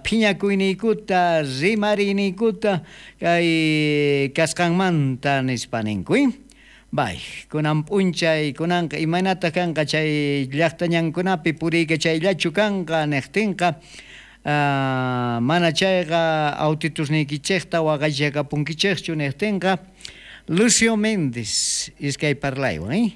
Phiñakuyniykuta, rimariyniykuta kay kasqanmanta nispa ninku. Bay, kunan p'unchay kunanqa imaynataq kanqa chay llaqta ñankunapi puriykachayllachu kanqa niqtinqa, mana chayqa autitusniykichikta waqaychakapunkichikchu niqtinqa, Lucio Méndez iskay parlaywan,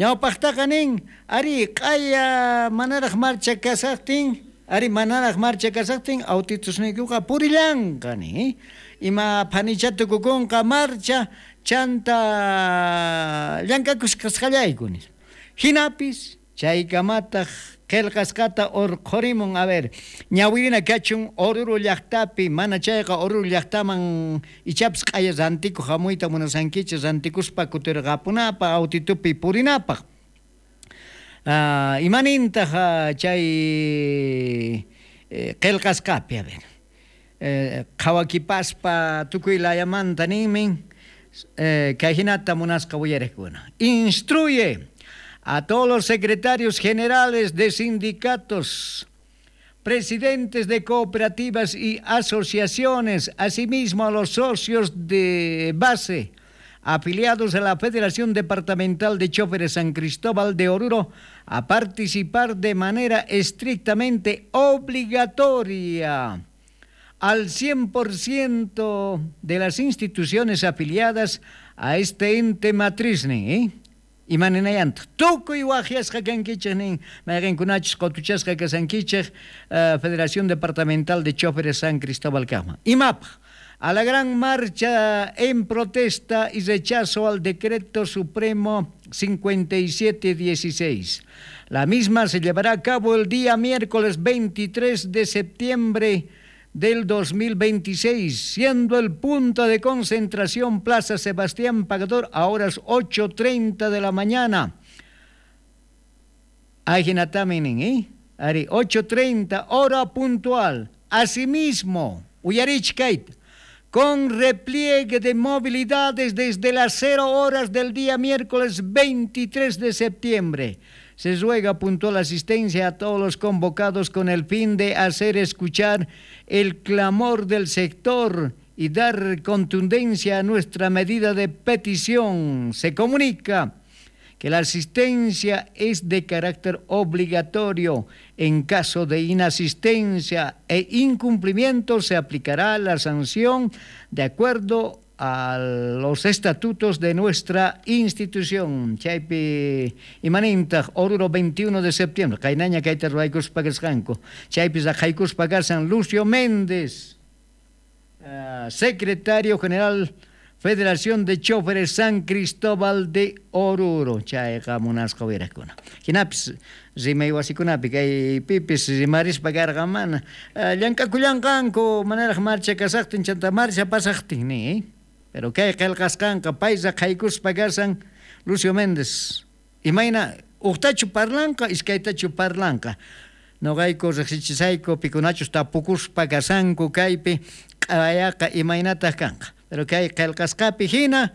ñawpaqtaqa nin, ari q'aya manaraq marcha kasaqtin, ari manaraq marcha kasaqtin autitusniykuqa purillanqa nin, ima phanicha tukukunqa marcha chanta llank'akusqasqallayku nispa. Hinapis chaykamataq qillqasqata urqhurimun, a ver, ñawirina kachun Oruro llaqtapi, mana chayqa Oruro llaqtaman ichapis q'aya rantikuq hamuyta munasankichik, rantikuspa kutirqapunapaq, autitupi purinapaq. Imanintaq chay qillqasqapi, a ver, qhawakipaspa tukuy layamanta ninmin, kay hinata munasqa uyariqkuna. Instruye a todos los secretarios generales de sindicatos, presidentes de cooperativas y asociaciones, asimismo a los socios de base, afiliados a la Federación Departamental de Choferes San Cristóbal de Oruro, a participar de manera estrictamente obligatoria al 100% de las instituciones afiliadas a este ente matriz, ¿eh? Imaninayantaq tukuy waqyasqa kankichik nin mayqinkunachus qutuchasqa kasankichik Federación Departamental de Choferes San Cristóbal kaqman. Imapaq a la gran marcha en protesta y rechazo al Decreto Supremo 5716. La misma se llevará a cabo el día miércoles 23 de septiembre del 2026, siendo el punto de concentración Plaza Sebastián Pagador a horas 8:30 de la mañana. Ajinatami ¿eh? Ari, 8:30, hora puntual. Asimismo, uyarichkayta, con repliegue de movilidades desde las 0 horas del día miércoles 23 de septiembre. Se ruega puntual asistencia a todos los convocados con el fin de hacer escuchar el clamor del sector y dar contundencia a nuestra medida de petición. Se comunica que la asistencia es de carácter obligatorio. En caso de inasistencia e incumplimiento se aplicará la sanción de acuerdo a los estatutos de nuestra institución. Chaypi imanintaq Oruro 21 de septiembre. Qaynaña kayta ruwaykuspa kasqanku. Chaypi raqaykuspa kasan Lucio Méndez, secretario general Federación de Choferes San Cristóbal de Oruro. Chayqa munasqa uyarakuna. Hinapis rimay wasikunapi kay pipis rimarispa karqa mana llank'akullanqanku manaraq marcha kasaqtin chanta marcha pasaqtin ni, Pero kay qillqasqanqa pay raqaykuspa kasan Lucio Méndez. Imayna uqtachu parlanqa iskaytachu parlanqa. Noqayku riqsichisayku pikunachus tapukuspa kasanku kaypi q'ayaqa imaynataq kanqa. Pero kay qillqasqapi hina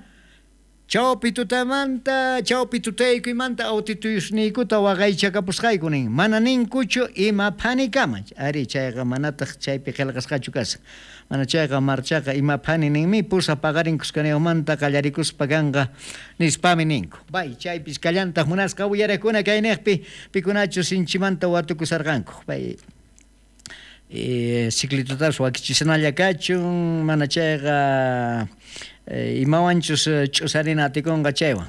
chawpi tutamanta, chawpi tutaykuymanta autituyusniykuta waqaychakapusqayku nin. Mana ninkuchu ima phanikama. Ari chayqa manataq chaypi qillqasqachu kasan. Mana chayqa marchaqa ima phani ninmi pusa paqarin kuskanayumanta qallarikuspa kanqa nispami ninku. Bay chaypis kallantaq munasqa uyarakuna kayniqpi pikunachus sinchimanta watukusarqanku. Bay ciclitutapas wakichisnalla kachun mana chayqa imawanchus ch'usarina atikunqa chaywan.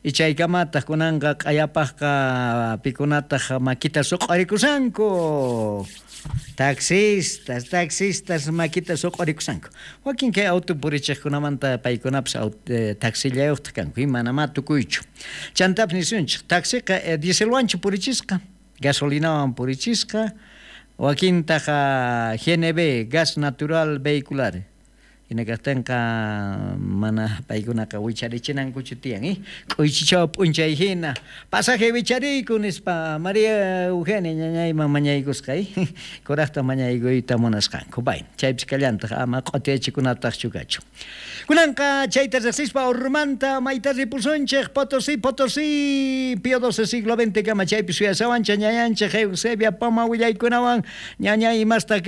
Y chaykamataq kunanqa q'ayapaqqa pikunataq makita suq'arikusanku. Taxistas, taxistas makita suq'arikusanku. Wakin kay auto purichiqkunamanta paykunapas taxillayuqtaq kanku, manamá tukuychu. Chantapis nisunchik, taxiqa dieselwanchu purichisqa, gasolinawan purichisqa, wakintaq GNV, gas natural vehicular. Hina kaqtinqa mana paykunaqa wicharichinankuchu tiyan, K'uychichaw p'unchay hina pasaje wichariyku nispa María Eugenia ñañayman mañaykusqa, Kuraqta mañaykuyta munasqanku. Bay, chaypis kallantaq ama q'utiyachikunataqchu kachu. Kunanqa chayta riqsispa Orurumanta mayta ripusunchik Potosí, Potosí, Pío XII siglo XX kama chaypi suyasawanchik ñañanchik Eusebia Poma willaykunawan ñañay imastaq.